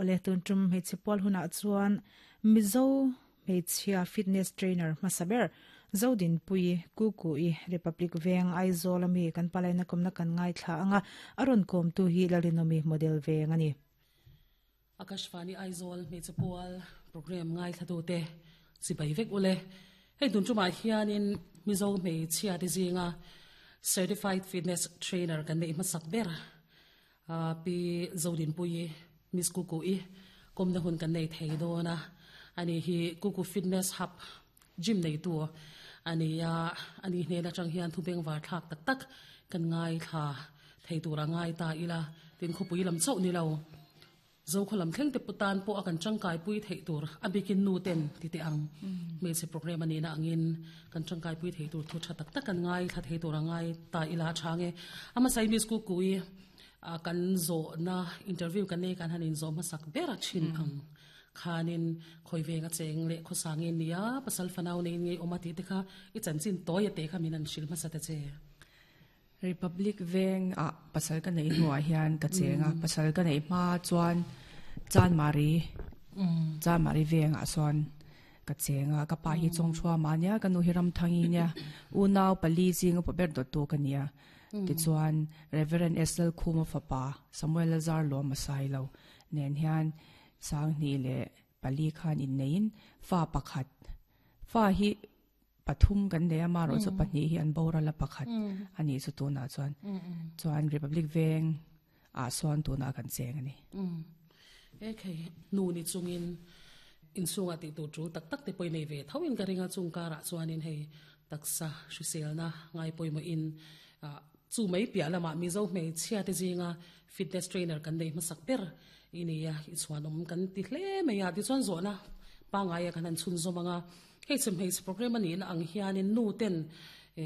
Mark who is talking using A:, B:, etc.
A: Awle tun tum hmeichhe pual hunah chuan Mizo hmeichhia fitness trainer hmasa ber Zodinpuii Kuku-i Republic Veng Aizawl ami kan palaina kawmna kan ngaithla anga a rawn kawmtu hi Lalrinawmi model veng a ni.
B: Akashvani Aizawl hmeichhe pual program ngaithlatute chibai vek ule. Hei tun tumah hianin Mizo hmeichhia te zinga Certified Fitness Trainer kan neih hmasak ber Pi Zodinpuii Miss Kuku-i kawmna hun kan nei thei dawn a. Ani hi Kuku Fitness Hub gym neitu a ni a, ani hnen atang hian thu bengvar thlak tak tak kan ngaithla thei tur a ngai ta ila, tin khawpui lam chauh ni lo, Zokhaw lam thleng te pawh tan pawh a kan tangkaipui theih tur a bikin nu ten ti teh ang hmeichhe program a nihna angin kan tangkaipui thei tur thu tha tak tak kan ngaithla thei tur a ngai ta ila a chhang e. A hmasa i Miss Kukui kan zawhna interview kan nei kan han inzawh hmasak ber a thin ang. Khanin khawi veng a cheng leh khawsa nge nia, pasal fanau nei ngei awm a tih te kha i chanchin tawi a teh kha min han hrilh hmasa ta che.
C: Republic veng ah pasal ka neih hnuah hian ka cheng a, pasal ka neih hma chuan Chanmari Chanmari veng ah sawn ka cheng a, ka pa hi Chawngthuama a nia, ka nu hi Ramthangi nia, unau pali zing upa ber dawttu ka nia. Tichuan Reverend S Lalkhuma fapa Samuel Lazar Lawma Sailo nen hian Sanghnih leh pali khan inneiin fa pakhat, fa hi pathum kan nei a, amaherawh chu pahnih hi an boral a pakhat a nih chu tunah chuan. Chuan Republic Veng ah sawn tunah kan cheng a ni.
B: Ekhei, nu ni chungin inchhungah tih tur tul tak tak te pawh i nei ve tho in ka ring a, chung karah chuanin hei taksa hriselna ngai pawimawhin chu mai piah lamah Mizo hmeichhia te zinga Fitness trainer kan nei hmasak ber i ni a, i chhuanawm kan ti hle mai a, tichuan zawhna pangngai a kan han chhunzawm ang a, hei chhim hmeichhe program a nihna ang hianin nu ten.